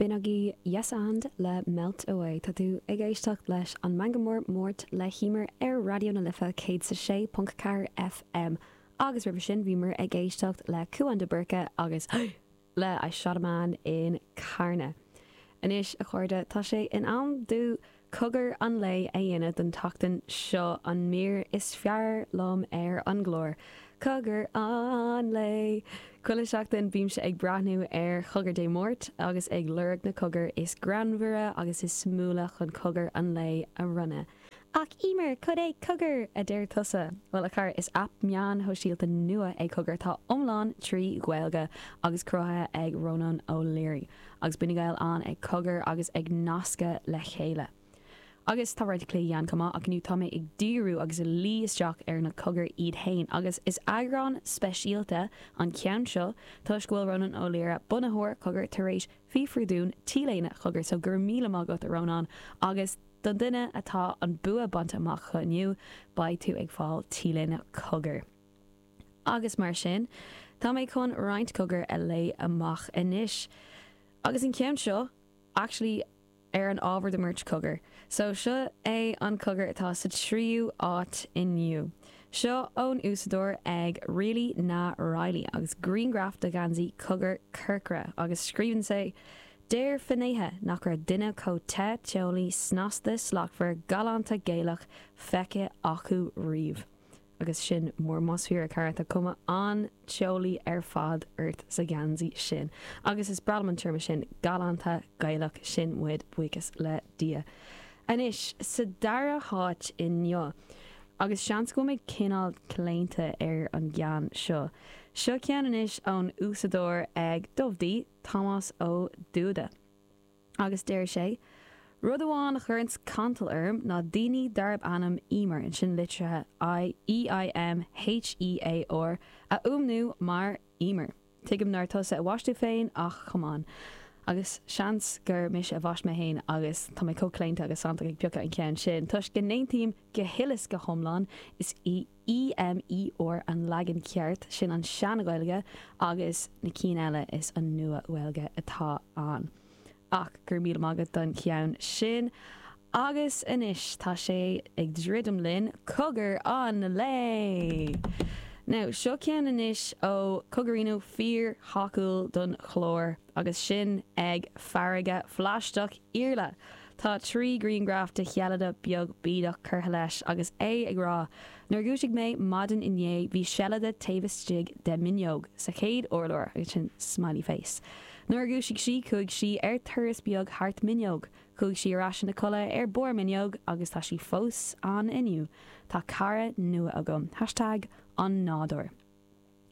B'in agaibh Yes And le Melt Away. Tá tú ag éisteacht leis an Meangadh Mór Máirt le hEmer ar Raidió na Life 106.4 FM. Agus roimhe sin bhíomar ag éisteacht le Cúán de Búrca agus le I Shot a Man in Carna. Anois, a chairde, tá sé in am domh Cogar an lae a dhéanamh don tseachtain seo, an mír is fearr liom ar an gclár. Cogar an lae! Chuile sheachtain bímse ag breathnú ar Chogar Dé Máirt agus ag lorg na cogair is greannmhaire agus is suimiúla chun Cogar an lae a bhronnadh. Ach Emer, cad é Cogar? a deir tusa. Bhuel, a chara, is aip meáin shóisialta nua é Cogar atá iomlán trí Ghaeilge agus cruthaithe ag Rónán O'Leary. Agus bíonn na Gaeil ann ag cogar agus ag nascadh le chéile. Agus tá roinnt cluichí ann chomh maith ach inniu tá mé ag díriú agus ag luí isteach ar na cogair iad fhéin agus is eagrán speisialta an ceann seo toisc go bhfuil Rónán Ó Laoire, bunaitheoir Cogar, tar éis fiafrú dúinn T-léine Chogar so go raibh míle maith agat a Rónán agus don duine atá an bua bainte amach acu inniu beidh tú ag fáil T-léine Cogar. Agus mar sin, tá mé chun roinnt cogar a léigh amach anois. Agus an ceann seo, actually, ar an ábhar de Máirt Cogar. So, seo é an cogar atá sa tríú áit inniu. Seo ón úsáideoir ag Really Na Riley agus grianghraf de gheansaí Cogar corcra agus scríobhann sé, Deir finnéithe nach raibh duine chomh te, teolaí, snasta, slachtmhar, galánta Gaelach feicthe acu riamh. Agus sin mór más fíor, a chara, tá cuma an-teolaí ar fad ort sa gheansaí sin. Agus is breá liom an téarma sin, galánta Gaelach, sin muid, buíochas le Dia. Anois, sa dara háit inniu, agus seans go bhfuil mé cineál claonta ar an gceann seo, seo ceann anois ón úsáideoir ag Dubh D, Tomás Ó Dúda. Agus deir sé, Rud amháin a chuireanns cantal orm ná daoine darb ainm Emer, ansin litrithe E-I-M-H-E-A-R, a fhuaimniú mar Eemer. Tuigim nár tusa a bhaist tú féin ach come on. Agus seans gur mise a bhaist mé féin agus tá mé chomh claonta agus santach ag piocadh an ceann sin toisc go n-aontaím go huile is go hiomlán, is í E-M-E-R an leagan ceart, sin an sean-Ghaeilge, agus na cinn eile is an nua-Ghaeilge atá ann. Ach go raibh míle maith agat don cheann sin. Agus anois tá sé ag druidim linn, Cogar an Lae! Now, seo ceann anois ó Cogarino fíor-thacúil don chlár agus sin ag Farraige Phlaisteach Iarla! Tá 3 grianghraf de sheilide beag bídeach curtha leis agus é ag rá, Nuair a dhúisigh mé maidin inné bhí seilide taobh istigh de m'fhuinneog sa chéad urlár agus sin smiley face. Nuair a dhúisigh sí chuaigh sí ar turas beag thart m'fhuinneog. Chuaigh sí ar ais ina codladh ar barr m'fhuinneog agus tá sí fós ann inniu. Tá cara nua agam. Hashtag an nádúr.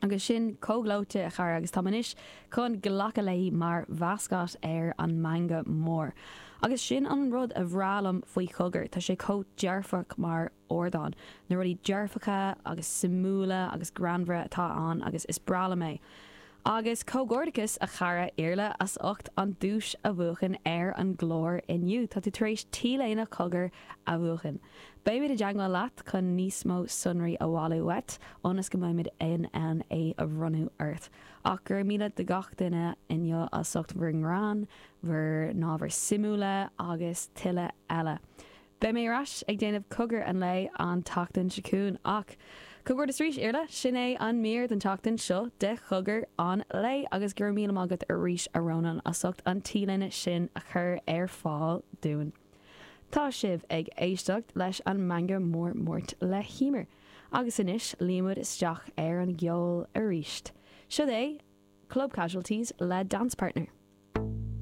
Agus sin chomh gleoite, a chara, agus táim anois chun glacadh léi mar mhascot ar an Meangadh Mór. Agus sin an rud a bhreá liom faoi Chogar, tá sé chomh dearfach mar ardán. Na rudaí dearfacha agus suimiúla agus greannmhara atá ann agus is breá liom é. Agus comhghairdeachas, a chara Iarla, as ucht an duais a bhuachan ar an gclár inniu. Tá tú tar éis T-léine Chogar a bhuachan. Beimid i dteagmháil leat chun níos mó sonraí a bhailiú uait ionas go mbeimid in ann é a bhronnadh ort. Ach go raibh míle do gach duine inniu as ucht bhur ngreann, bhur n-ábhair suimiúla agus tuilleadh eile. Beidh mé ar ais ag déanamh Cogar an Lae an tseachtain seo chugainn ach comhghairdeas arís, Iarla! Sin é an mír don tseachtain seo de Chogar an Lae agus go raibh míle maith agat arís a Rónáin as ucht an T-léine sin a chur ar fáil dúinn. Tá sibh ag éisteacht leis an Meangadh Mór Máirt le hEmer. Agus anois luímid isteach ar an gceol arís. Siod é Club Casualties le Dance Partner.